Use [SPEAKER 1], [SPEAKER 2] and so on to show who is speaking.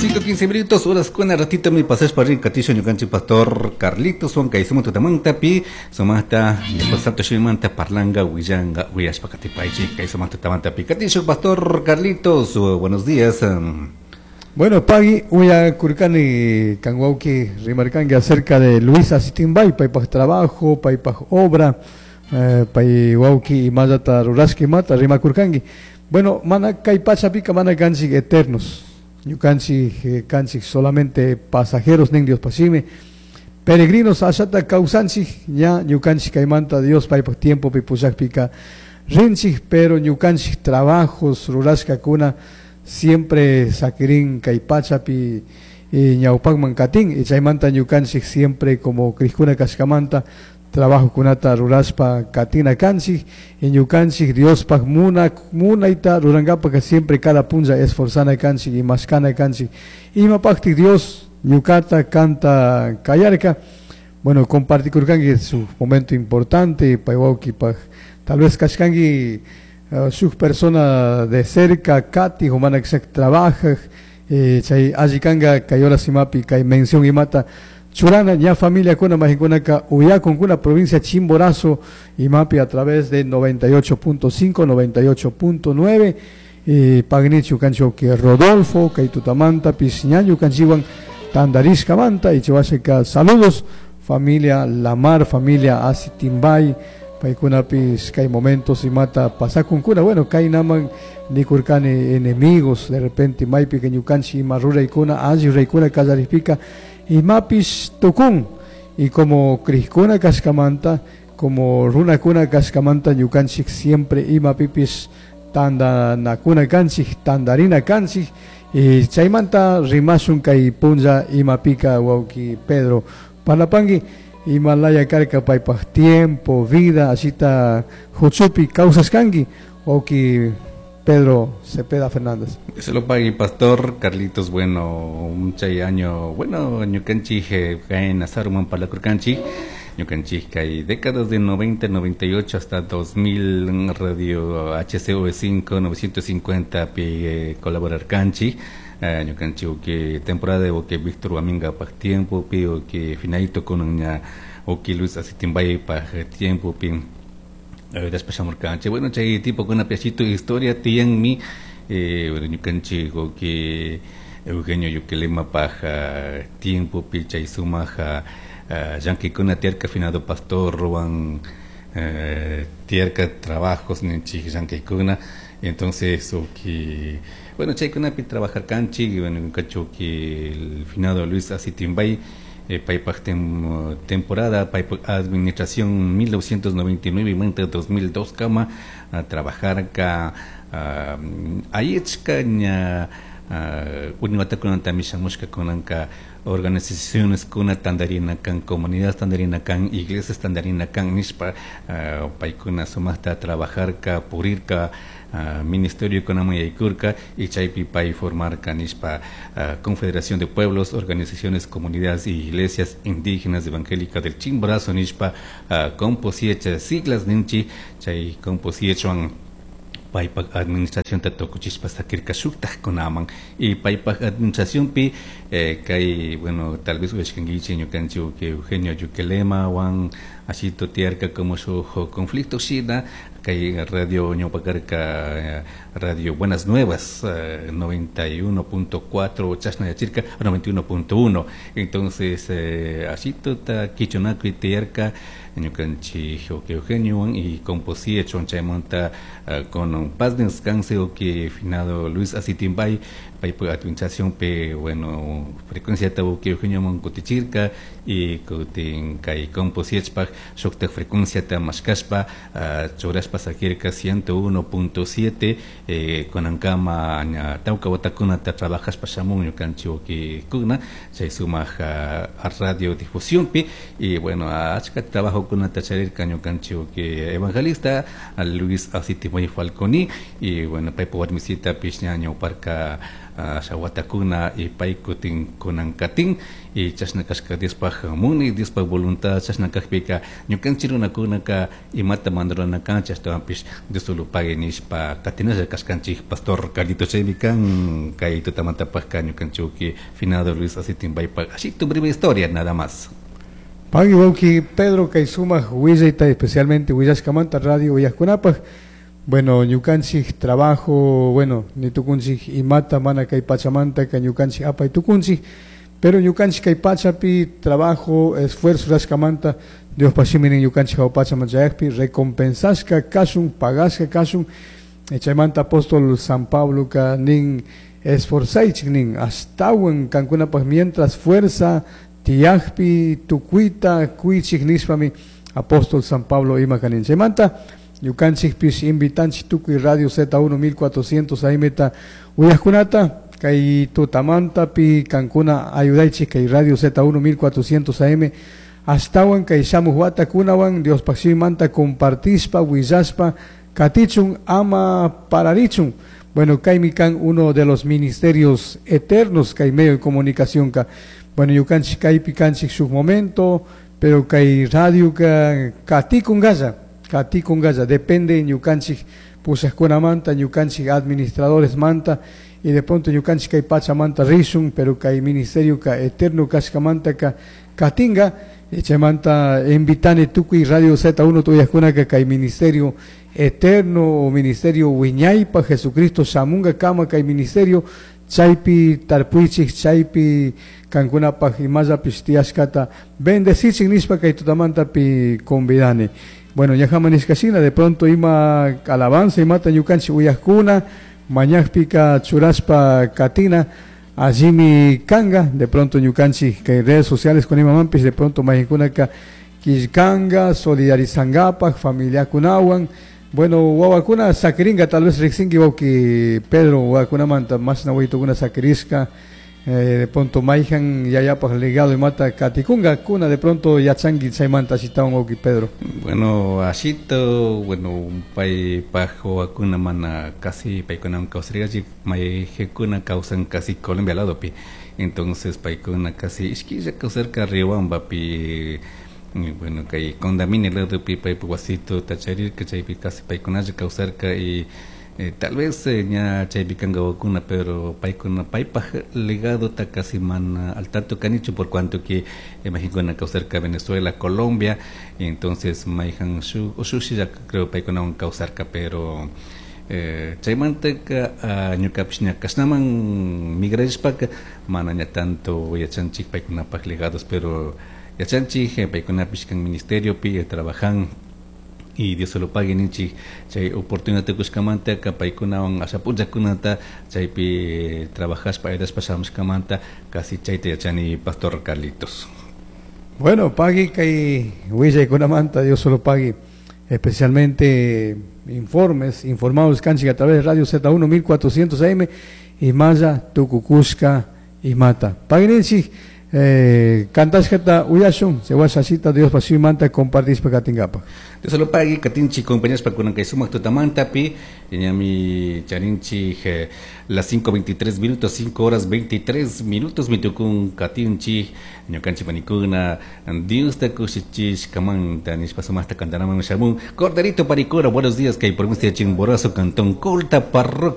[SPEAKER 1] 5 15 minutos, horas con ratito mi pasas para katisho ñukanchik pastor Carlitos Juan kay sumo tutamanta pi sumata después santo shimanta parlangka willanga uyashpa katipaychik kay sumaq tutamanta pi katisho pastor Carlitos, buenos días.
[SPEAKER 2] Bueno, pagui, uyakurkani kan wawki rimarkanki acerca de Luis Asitimbay, paypaj trabajo, paypaj obra, pay wawki imallata rurashka rimakurkanki. Bueno, mana kay pachapika mana kanchik eternos, ñukanchik kanchik solamente pasajeros nin Dios pashimi, peregrinos ashata kawsanchik ña ñukanchik kaymanta Dios paypaj tiempo pi pushakpika rinchik, pero ñukanchik trabajos rurashkakuna siempre sakirin kay pachapi ñawpakman katin y chaymanta ñukanchik siempre como krikuna kashkamanta trabajo kunata rurashpa katina kanchik y ñukanchik Diospaj muna munayta rurankapaka siempre cada punlla esforzana kanchik y mashkana kanchik imapaktik Dios ñukata kanta kayarka. Bueno, compartikurkanki su momento importante pay wawkipaj tal vez kashkanki shuk persona de cerca kati o mana trabaja chay alli kanka kay horas imapi kay mención imata churana ña familia kuna majikunaka uyakunkuna provincia Chimborazo imapi a través de 98.5 98.9 pagnichu kancho que Rodolfo kay tutamanta pisñañu kanchiwan tandarishkamanta y chiwashika saludos familia Lamar, familia Asitimbay, paykunapis kay momentos imata pasakunkuna, bueno, kay naman nikurkani enemigos, de repente maypi que ñukanchik ima ruraykuna alli ruraykuna kallaripika imapis tukun y como krikuna kashkamanta, como runakuna kashkamanta ñukanchik siempre imapipis tandanakuna kanchik, tandarina kanchik y chaymanta rimashun kay punlla imapika wawki Pedro Parlapangui Himalaya karka paypaj tiempo, vida, asita huchupi kawsashkanki wawki Pedro Cepeda Fernández.
[SPEAKER 1] Se lo pague pastor Carlitos, bueno, un chay año, bueno, ñukanchik kay nazaruman parlakurkanchik, ñukanchik kay décadas de 90, 98 hasta 2000 radio HCV 5 950 pi colaborar kanchik. Ñukanchik que temporada de que Víctor Huaminga paj tiempo pi o que finalito con una o que Luis Asitimbay paj tiempo pi después canche. Bueno, chay tipo con una piachito historia tiyan mi bueno, ñukanchik o que Eugenio Yuquelema paj tiempo pi chay sumaja llankikuna tierka finado pastor ruan tierka trabajos ninchik llankikuna. Entonces, o que, bueno, chaykunapi trabajar kanchik, bueno, cacho que el finado Luis Asitimbay, paypaj temporada, paypaj administración 1999 y 2002 kama, a trabajar ka, ayechka ña, uniwatakunanta mishamushka kunanka organizaciones kuna tandarina kan, comunidades tandarina kan, iglesias tandarina kan, nishpa, paykuna sumaqta trabajar ka, purirka, ministerio kunaman yaykurka y chaypi pay formarka nishpa, Confederación de Pueblos, Organizaciones, Comunidades y Iglesias Indígenas Evangélicas del Chimborazo nishpa, composiecha siglas ninchi, chay composiechuan paypaj administración ta tukuchishpa sakirka shuktaj kunaman y paypaj administración pi kay, bueno, tal vez uyashkankichik ñukanchik que Eugenio Yuquelema wan ashito tiyarka como shuk conflicto shina kay radio ñawpakarka radio Buenas Nuevas 91.4 chashna yachirka 91.1 entonces ashito ta kichunakuy tiyarka ñukanchik Eugenio y composiecho chaymanta con paz descanse o que finado Luis Asitimbay paypaj administración pe bueno frecuencia ta que Eugenio monkutichirka y kutin kay composiechpaj shuktaj frecuencia ta mashkashpa churashpa sakirka 101.7 kunankama ña tawka watakunata trabajashpa shamun ñukanchik que kuna chay sumaq radio difusión pi y bueno achka trabajo kunata charirka ñukanchik que evangelista Luis Asitimbay Falconi y bueno paypa warmisita pish ña ñawparka Asha watakuna y pay kutin kunan katin y chashna kashka Diospaj munay, Diospaj voluntad chashna kajpika ñukanchik runakunaka imata mana kanchik, ashtawanpish Dios solo pague nishpa katinalla kashkanchik, pastor Carlito. Chaymi kan kay tutamantapajka ñukanchik finado Luis Asitimbaypaj ashito breve historia nada más.
[SPEAKER 2] Pagui wawki Pedro kay sumak willayta, especialmente willashkamanta radio uyajkunapaj. Bueno, ñukanchik trabajo, bueno, ni tukunchik imata mana kay pachamanta ka ñukanchik apay tukunchik, pero ñukanchik kay pachapi trabajo, esfuerzo rashkamanta Dios shimi ñukanchik hawa pachaman chayakpi recompensashka kashun, pagashka kashun. Chaymanta apóstol San Pablo ka nin esforzaychik nin ashtawan kankunapaj mientras fuerza tiyakpi tukuyta kuychik nishpami apóstol San Pablo ima kanin. Chaymanta ñukanchikpish invitanchik tukuy Radio Z1 1400 AM ta uyajkunata kay tutamantapi kankuna ayudaychik kay Radio Z1 1400 AM ashtawan kay shamuj watakunawan Diospaj shimimanta compartishpa willashpa katichun, ama pararichun. Bueno, kaymi kan uno de los ministerios eternos kay medio de comunicación ka. Bueno, ñukanchik kaypi kanchik shuk momento, pero kay radio ka katikungalla, katikungalla, depende ñukanchik pushajkunamanta, ñukanchik administradores manta, y de pronto ñukanchik kay pachamanta rishun, pero kay ministerio ka eterno kashkamanta ka katinga. Chaymanta invitani tukuy Radio Z1 tuyajkunaka kay ministerio eterno o ministerio wiñaypa Jesucristo shamunga kama kay ministerio chaypi tarpuychik, chaypi kankunapaj imallapish tiyashkata bendecichik nishpa kay tutamantapi convidani. Bueno, ñajaman nishkashina de pronto ima alabanza imata ñukanchik uyajkuna mañajpika churashpa katina allimi kanga. De pronto ñukanchik kay redes sociales con imamanpish de pronto maykunaka killkanga solidarizangapaj familiakunawan. Bueno, wawakuna sakiringa, tal vez riksinki wawki Pedro wawakunamanta mashna wawitukuna sakirishka, de pronto mayjan yayapaj legado imata katikunga kuna, de pronto yachanki chaymanta ashitawan, wawki Pedro.
[SPEAKER 1] Bueno, ashito, bueno, paypaj wawakuna mana casi paykunawan kawsarikachik, mayjekuna kawsan casi Colombia ladopi, entonces paykuna casi ishkilla kawsarka Riobambapi. Bueno, kay Condamine ladopi paypak wasituta charirka, chaypi casi paykunalla kawsarka y tal vez ña chaypi kanka wawakuna, pero paykuna paypaj legadota casi mana al tanto kanichu por cuanto que mayjankuna kawsarka Venezuela, Colombia, y entonces mayjan shuk ushushilla creo paykunawan kawsarka, pero chaymantaka ñukapish ña kashnaman migrarishpaka mana ña tanto yachanchik paykunapaj legados, pero yachanchik paykunapish kan ministeriopi trabajan y Dios se lo pague ninchik chay oportunidad kushkamanta paykunawan asha punllakunata chaypi trabajashpa ayudashpa shamushkamanta, casi chayta yachani, pastor Carlitos.
[SPEAKER 2] Bueno, pagui kay willaykunamanta, Dios solo pague, especialmente informes, informados kanchik a través de Radio Z1 1400 AM y Maya Tukukushka y Mata. Pagui ninchik kantashkata uyashun, sewashashita Dios manta compartishpa katingapaj.
[SPEAKER 1] Dios lo pague, katinchik compañeros kunan kay sumak tutamantapi, ñami charinchik las 5:23 minutos, 5 horas 23 minutos, mitukun katinchik, ñukanchik panikuna, Dios ta kushichishkamanta, nishpa sumaqta kantanaman shamun, Corderito Paricura, buenos días, kay provincia de Chimborazo, Cantón Colta, parroquia.